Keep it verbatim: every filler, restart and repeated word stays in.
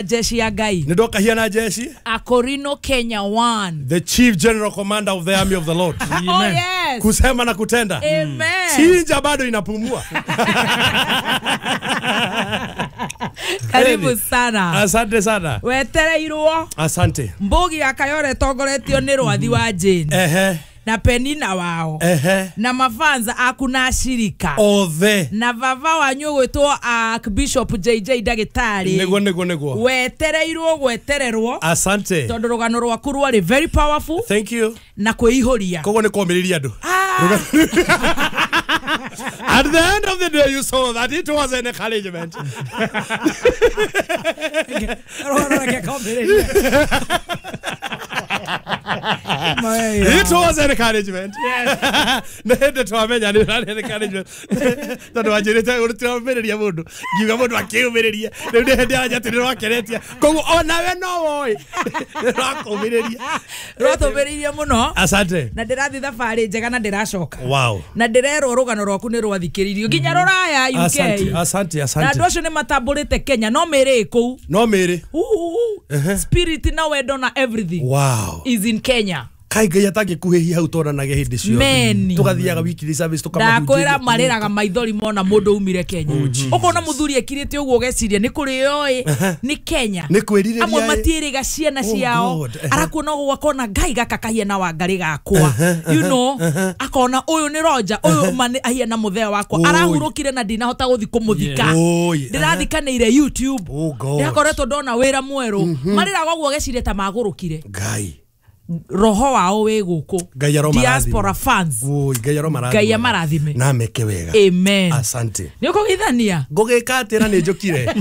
Jeshi ya Ngai. Nĩ ndoka hiana jeshi. Akorino Kenya one. The chief general commander of the army of the Lord. Oh yes. Kusema na kutenda. Amen. Chinja bado inapumua. Karibu sana. Asante sana. Wetereirwo. Asante. Mbugi ya Kayore tongoretio nĩ Rwathi wa Jane. Ehe. Na Penina wao. Ehe. Na mafanza aku na ashirika. Othe. Na vava wanyu gwitwo Archbishop J J Ndagĩtarĩ. Nĩguo nĩguo nĩguo. Wetereirwo gwetererwo. Asante. Tondũ rũgano rwaku rwarĩ very powerful. Thank you. Na kwĩihũria. Koguo nĩ kũmĩrĩria andũ. Ah. At the end of the day you saw that it was an encouragement. It was an encouragement. Nende twamenya ni an encouragement. Tondu wanjirite ũrutĩra mũndũ ngiuga mũndũ akĩũmĩrĩria rĩu nĩ hĩndĩ anja atĩ nĩrwakeretia koguo onawe no woĩ nĩrwakũmĩrĩria rwatũmĩrĩirie mũno. Asante. Na ndĩrathiĩ thabarĩ njega na ndĩracoka. Wow. Na ndĩrerwo rũgano rwaku nĩ rwathikĩrĩirio nginya rũraya U K. Asante, asante, asante. Na andũ acio nĩ matambũrĩte Kenya no mĩrĩ kũu. No mĩrĩ. Spirit na wendo na everything. Wow. Is in Kenya. Kai Ngai atangĩkuhĩhia hau twananagia hĩndĩ ciothe. Tũgathiaga weekly service tũkamahunjĩria. Ndakwĩra marĩraga maithori mona mũndũ umire Kenya. Ũkona mũthuri ekirĩte ũguo ũgeciria nĩ kũrĩo ĩ nĩ Kenya. Nĩ kwĩrirĩria. Amwe matiĩrĩga ciana ciao. Arakuona ũguo akona Ngai gaka kahiana Wangarĩ gakwa. You know, akona ũyũ nĩ Roger, ũyũ ma ahiana mũthee wakwa. Arahurũkire na ndinahota gũthiĩ kũmũthika. Ndĩrathikanĩire YouTube. Ndĩrakoretwo ndona wĩra mwerũ. Marĩraga ũguo ũgeciria ta magũrũkire. Ngai. Roho wao wĩ gũkũ. Diaspora fans. Oi, Ngai aromarathime. Ngai amarathime. Na meke wega. Amen. Asante. Nĩ ũkũgeithania? Ngũgĩka atĩ na nĩ njũkire.